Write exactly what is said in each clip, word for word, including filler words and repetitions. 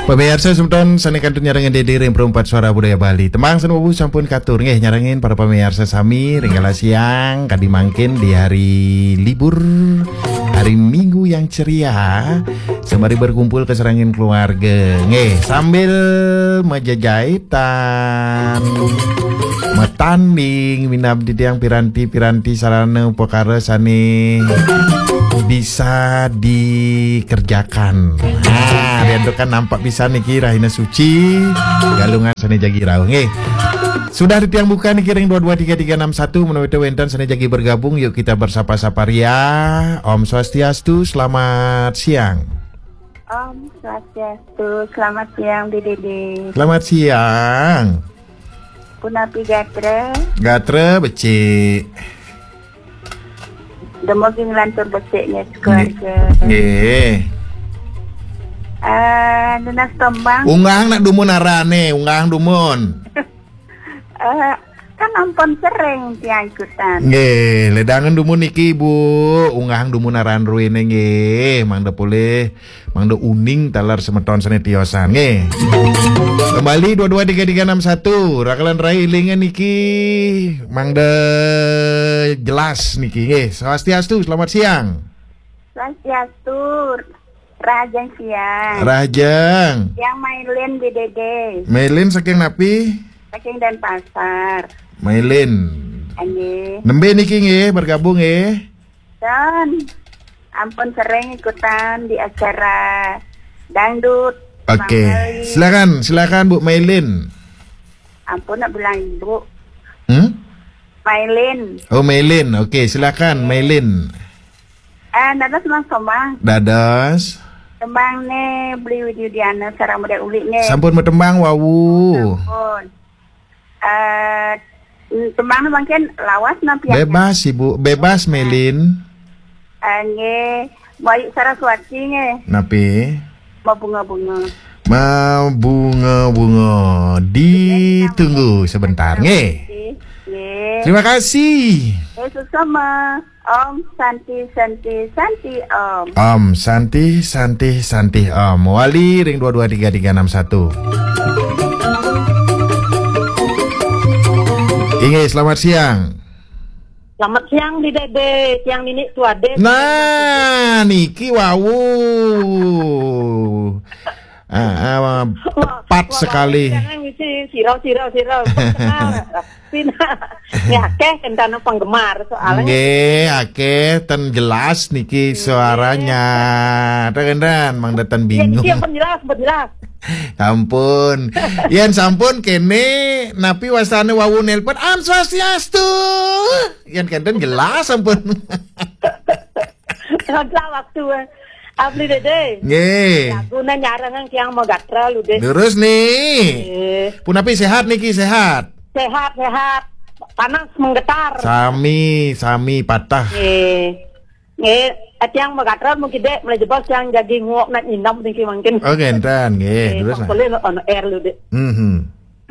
Pamiarsa semeton sane kantun nyarengin Dede ring Perempat Suara Budaya Bali. Tembang sane wau sampun katur nggih nyarengin para pamiarsa sami ring kala siang kadi mangkin di hari libur, hari Minggu yang ceria, sembari berkumpul kasarengin keluarga. Nggih, sambil majejaitan, matanding minab titiang piranti-piranti sarana upakara sane bisa dikerjakan. Nah, riantukan nampak pisan niki rahina suci, Galungan sane jagi rauh nggih. Sudah titiang buka niki ring dua dua tiga tiga enam satu, menawi wenten sane jagi bergabung, yuk kita bersapa-sapa ria. Om Swastiastu, selamat siang. Om Swastiastu, selamat siang, Dede. Selamat siang. Punapi gatra? Gatra becik. Dumugi nglantur becik nggih, sekeluarga. Nggih. Nggih. Eh, nunas tembang. Unggahang nak dumun arane, unggahang dumun. Eh, kan ampun sering tiang ikutan. Nggih, ledangan dumun niki, Bu. Unggahang dumun aran ruene nggih, mangda polih, mangda uning taler semeton sane tiosan nggih. Kembali dua dua tiga tiga enam satu, rakalan rai ilingan niki, mangda jelas niki nggih. Swastiastu, selamat siang. Swastiastu, rahajeng siang. Rahajeng. Yang Mailin di Dede. Mailin saking napi? Saking Denpasar. Mailin. Nggih. Nembe niki nggih, bergabung nggih. Dan ampun sering ikutan di acara dangdut. Oke, Bang Bali. Silakan, silakan Bu Mailin. Ampun nak bilang Ibu. Hmm? Mailin. Oh, Mailin. Oke, silakan Mailin. Eh, dados Mas Komang. Dados. Tembang ne Beli Widiana sareng Mode Uli ne. Sampun matembang wau. Sampun. Eh, tembang ne mungkin lawas napi ya? Bebas, Ibu. Bebas, Mailin. Eh, nggih. Bayu Saraswati nggih. Napi? Mabunga-bunga. Mabunga-bunga. Ditunggu sebentar nggih. Nggih. Terima kasih. Eh, sesama. Om Santi, Santi, Santi, Om. Om Santi, Santi, Santi, Om. Wali ring dua dua tiga tiga enam satu. Inggih, selamat siang. Selamat siang, Di Dede. Siang, Nini, Tuade. Nah, niki wau. Ah, ah, tepat sekali. Jangan ngisi sirau, sirau, sirau. Kenal. Pina. Nggih, akeh kentana penggemar soalnya. Nggih, akeh ten jelas niki suaranya. Ten kenten, mangda ten bingung. Iya, niki yang jelas, jelas. Ampun. Yen sampun kene, napi wastane wau nelpon, "Om Swastiastu." Yen kenten jelas ampun. Salah waktu, eh. Abli Dede. Nggih. Lagune nyarengang tiang magatra lu, Dede. Terus nih. Nggih. Punapi sehat niki, sehat? Sehat, sehat. Panas menggetar. Sami, sami patah. Nggih. Nggih, tiang magatra mungkin, Dek, mulai jebos tiang jagi nguok nak nyinam niki mungkin. Oh, ngenten, nggih. Nggih, terus, nah. Sampun on air lu, Dek. Mhm.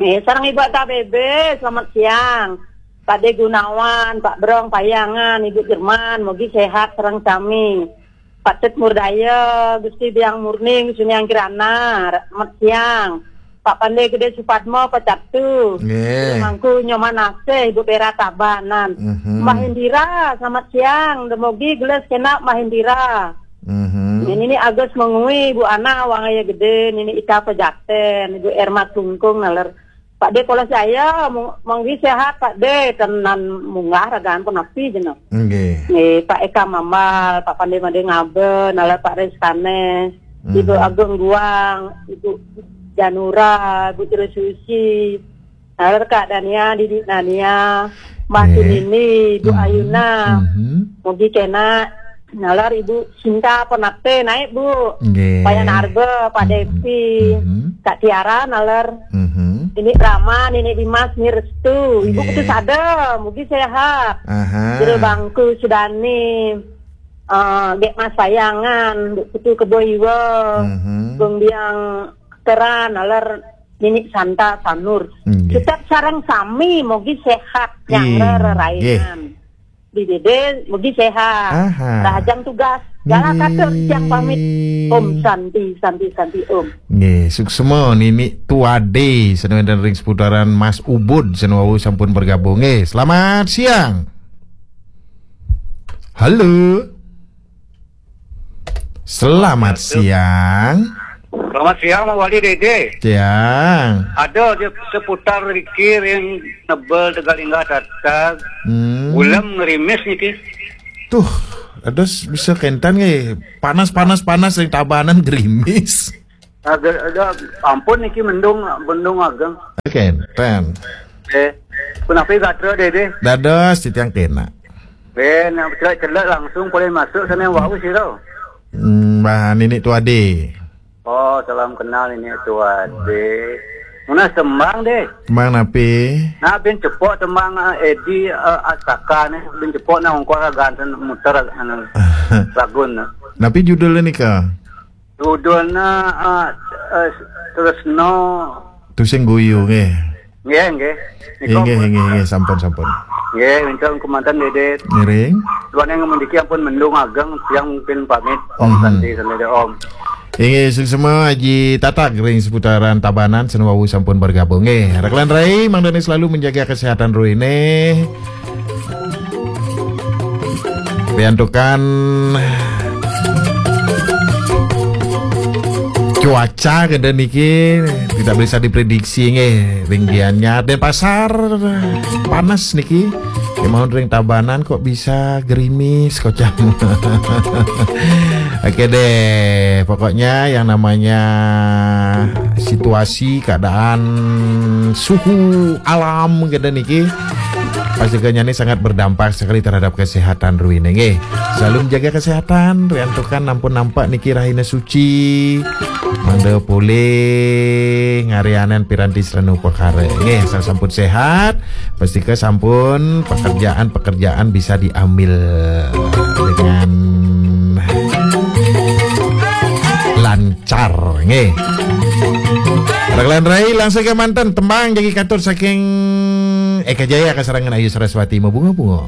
Nggih, sareng Ibu K B B, selamat siang. Pak De Gunawan, Pak Brong Payangan, Ibu Jerman, mugi sehat sareng sami. Pak Tut Murdaya, Gusti Biang Murning, Suniang Kirana, selamat siang. Pak Pande Gede Supadmo, Pak Catu. Nggih. Mangku Nyoman Asih, Ibu Pera Tabanan. Mhm. Mbah Indira, selamat siang. Demogi geles kena Mbah Indira. Mhm. Ini, ini Agus Mengui, Bu Ana, Wangaya Gede, Nini Ika Pejaten, Ibu Erma Tungkung, naler Pak De Polos Jaya, mung-, munggi sehat, Pak De, tenan munggah ragaan pun api jeno. Nggih. Nggih, Pak Eka Mambal, Pak Pande Made Ngabe, naler Pak Reskane, Ibu Mhm. Agung Guang, Ibu Janura, Ibu Tri Susi, naler Kak Dania, Didi Nania, Mbak Nggih. Sunini, Ibu Mhm. Ayuna. Mhm. Mugi kena nalar Ibu Sinta Penate naik, Bu. Nggih. Payan Arba, Pak Mhm. Depi, Mhm. Kak Tiara nalar. Mhm. Ini Rama, Nini Dimas, Ni Restu. Ibu Nggih. Putu Sada, mugi sehat. Aha. Jero Bangku Sudani, eh, Dek Mas Sayangan, Bu Putu Kebo Iwa, Mhm. Gung Biang Teran, nalar Nini Santa Sanur. Nggih. Tetap sareng sami, mugi sehat, yang Inggih. Rerainan. Di Dede, mugi sehat. Aha. Rahajeng tugas. Gala katur titiang pamit. Om Santi, Santi, Santi, Om. Nggih, suksma Nini Tuade, sané wénten ring seputaran Mas Ubud, sané wau sampun bergabung. Nggih, selamat siang. Halo. Selamat siang. Selamat siang, Mas Wali, Dede. Siang. Ada di seputar riki ring Nebel Tegalinga Tatag. Hmm. Ulem ngerimis niki. Tuh, ada s-, bisa kénten nggih. Panas, panas, panas ring Tabanan gerimis. Ada, ada, ampun niki mendung, mendung ageng. Kénten. Eh, punapi gatra, Dede? Dados, titiang kéné. Eh, nak celek-celek langsung boleh masuk sana wau sira. Hmm, Mbah Nini Tuade. Oh, salam kenal ini Tuade. Muna tembang deh. Tembang napi? Nah, bin cepok tembang, eh, Edi, eh, Astaka nih, bin cepok nah ungkor ganten muter anu lagun. Napi judulnya nika? Judulnya, eh, eh, Tresno. Tusing Guyu nggih. Nggih, nggih. Nika inggih, inggih, inggih, sampun, sampun. Nggih, minta kemanten Dedet. Ngiring. Tuan yang memiliki ampun mendung ageng, siang mungkin pamit. Om Mhm. Santi, Santi, Om. Inggih, suksma Aji Tatag ring seputaran Tabanan, sané wau sampun bergabung. Nggih, rekan rai, mangdane selalu menjaga kesehatan ruine. Riantukan cuaca kedé niki tidak bisa diprediksi nggih, ring Gianyar, Denpasar panas niki. Kemahun ring Tabanan kok bisa gerimis kocam. Oke deh, pokoknya yang namanya situasi, keadaan, suhu alam kedé niki pasti kenyane sangat berdampak sekali terhadap kesehatan ruine nggih. Selalu menjaga kesehatan, riantukan ampun nampak niki rahina suci. Mangda polih ngarianan piranti sarana upakara. Nggih, asal sampun sehat, pastika sampun pekerjaan-pekerjaan bisa diambil dengan lancar nggih. Rekan rai, langsung kemanten tembang jagi katur saking Eka Jaya kasarengan Ayu Saraswati, Mabunga-bunga.